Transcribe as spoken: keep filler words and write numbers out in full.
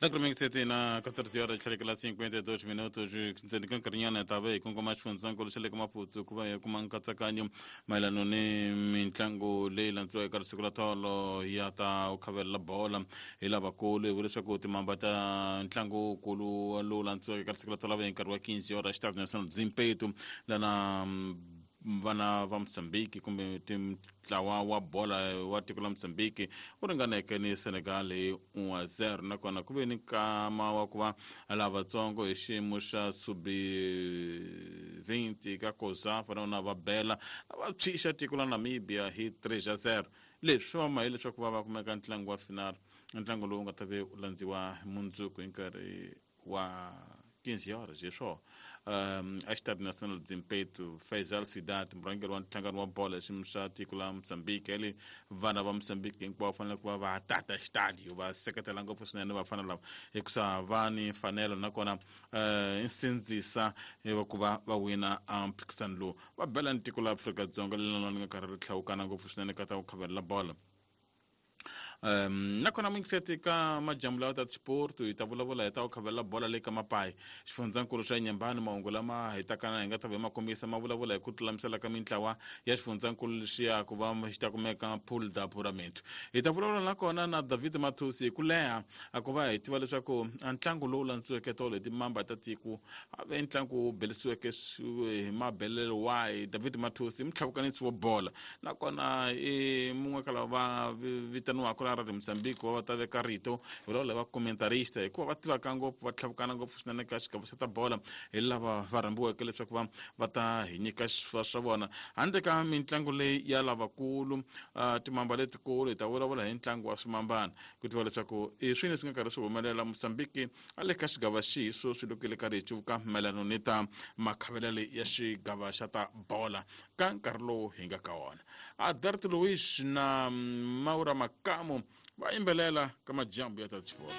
Lacroming na catorze horas cinquenta e dois minutos ntseni ka nkarhinyana hi ta va hi kongoma xifundzankulu xa le ka Maputo ku va hi kuma nkatsakanyo mayelana ni mitlangu leyi landziwaka eka siku ra tolo ya ta ku khavelela bola hi lavakulu. Hi vula leswaku timamba ta ntlangu wukulu lowu landziwaka eka siku ra tolo va hi nkarhi wa quinze horas Estádio Nacional Zimpeto lana vana va Mozambique kumbe ntlawa wa bola wa tiko la Mozambique wu ringaneke ni Senegal hi un a zero. Nakona ku ve ni nkama wa ku va lavatsongo hi xiyimo xa sub vinte ka COSAFA na va bela va tshwixa tiko la Namibia hi three a zero. Leswi swi vama hileswaku va va kumeka ntlangu wa final, ntlangu lowu nga ta ve u landziwa mundzuku hi nkarhi wa quinze horas hi swona um a Estádio Nacional Zimpeto. Faisal Sidat, murhangeri wa nhlangano wa bolo ya xiyimo xa tiko la Mozambique, le vana va Mozambique hinkwavo fanele ku va va tata xitadio va seketela ngopfu swinene vafana lava hikusa va ni mfanelo nakona um nsindzisa ku va va wina mphikisano lowu. Va bela ni tiko la Afrika-Dzonga leri nga karhi ri hlawukana ngopfu swinene ka ta ku khavelela bolo. Um nakona mingiseti ka majambu lawa ta sport hi ta vulavula hi ta ku khavelela bola le ka Mapayi xifundzankulu xa Nyambani. Mahungu lama hi takana hi nga ta va ma kombisa ma vulavula hi ku tlulamisela ka mintlawa ya xifundzankulu lexiya ku va xi ta kumeka pool da apuramento. Hi ta vulavula nakona na David Mathusi hi ku leha a ku va hi tiva leswaku ntlangu lowu landziweke tolo hi timamba ta tiko a ve ntlangu wu belisiweke hi mabelelo wahi. David Mathusi i mutlhavukanisi wa bola nakona i mun'we ka lava va vitaniwaka la Radio Mozambique va va ta veka rito hi vulavula va commentarista hikuva va tivaka ngopfu va tlhavukana ngopfu swinene ka xigava xa ta bola hi lava va rhambiweke leswaku va va ta hi nyika swa swa vona. Handle ka mitlangu leyi ya lavakulu uh, timamba letikulu hi ta vulavula hi ntlangu wa swimambana ku tiva leswaku i swini swi nga karhi swi humelela Mozambique a le ka xigava xihi sweswi loko le karhi hi cuvuka mayelana ni ta makhavelelo ya xigava xa ta bola ka nkarhi lowu hi nga ka wona. Adalto Luiz na Maura Makamu va yimbelela ka majambu ya ta sport.